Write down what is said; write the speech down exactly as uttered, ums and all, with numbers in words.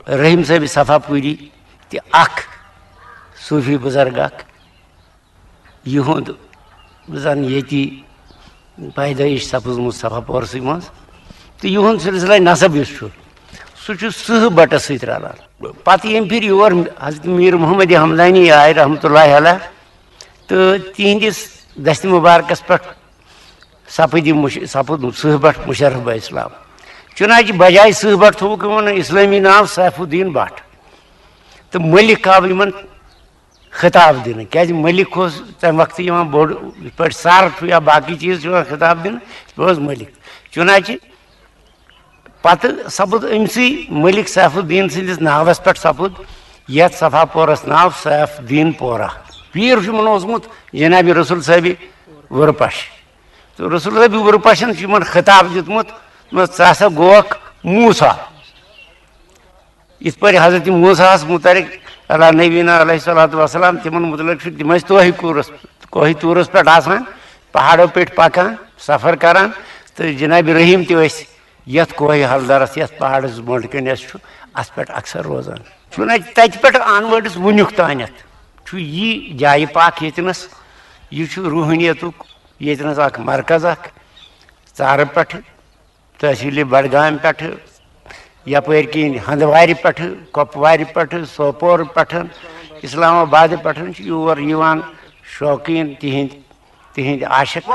رحیم صٲبِ صفا پوٗری تہِ اکھ صوٗفی بُزرگ اکھ، یِہُنٛد زن ییٚتی پیدٲیِش سپٕزمٕژ صفا پورسٕے منٛز، تہٕ یِہُنٛد سلسلہ نسب یُس چھُ، سُہ چھُ سٕہہ بٹس سۭتۍ رلان۔ پتہٕ ییٚمہِ پھِرِ یور حضرت میٖر محمد حمدانی آے رحمتہ اللہ علیہ، تہٕ تِہنٛدِس دستِ مُبارکس پٮ۪ٹھ سپٕدۍ یِم مُش-، سپُد سٕہہ بٹ مُشرف بہ اسلام۔ چُنانچہ بجایہِ سٕہہ بٹ تھوٚوُکھ یِمن اسلٲمی ناو سیف الدین بٹ، تہٕ مٔلِک آو یِمن خطاب دِنہٕ، کیازِ مٔلِک اوس تمہِ وقتہٕ یِوان بوٚڑ، یِتھ پٲٹھۍ سر چھُ یا باقٕے چیٖز چھِ یِوان خطاب دِنہٕ، یِتھ پٲٹھۍ اوس مٔلِک۔ چُنانچہ پتہٕ سپُد أمسٕے مٔلِک سیف الدین سٕنٛدِس ناوس پٮ۪ٹھ سپُد یتھ صفا پورس ناو سیف الدین پورہ۔ پیٖر چھُ یِمن اوسمُت جناب رسول صٲبِ وُرپش۔ تہٕ رسول صٲبِ وُرپشن چھُ یِمن خطاب دیُتمُت، دوٚپمَس، "ژٕ ہسا گوکھ موسیٰ۔" یِتھ پٲٹھۍ حضرت موسیٰ ہس متعلق علی نبینا علیہ الصلوۃ والسلام، تِمن متعلق چھُ، تِم ٲسۍ توہہِ کوٗرس، کوہہِ طورس پٮ۪ٹھ آسان، پہاڑو پٮ۪ٹھ پکان، سفر کران، تہٕ جناب رحیم تہِ ٲسۍ یتھ کوہہِ ہلدرس، یتھ پہاڑس بۄنڈ کنہِ اَسہِ چھُ، اتھ پٮ۪ٹھ اکثر روزان۔ چُنانچہ تتہِ پٮ۪ٹھ آنورڈس وُنیُک تانٮ۪تھ چھُ یہِ جایہِ پاک ییٚتنس، یہِ چھُ روحٲنیتُک ییٚتنس اکھ مرکز اکھ، ژارٕ پٮ۪ٹھٕ، تحصیٖلِ بڈگامہِ پٮ۪ٹھٕ، یپٲرۍ کِنۍ ہندوارِ پٮ۪ٹھٕ، کۄپوارِ پٮ۪ٹھٕ، سوپور پٮ۪ٹھٕ، اسلام آبادِ پٮ۪ٹھٕ چھِ یور یِوان شوقیٖن تِہنٛدۍ، تِہنٛدۍ عاشق۔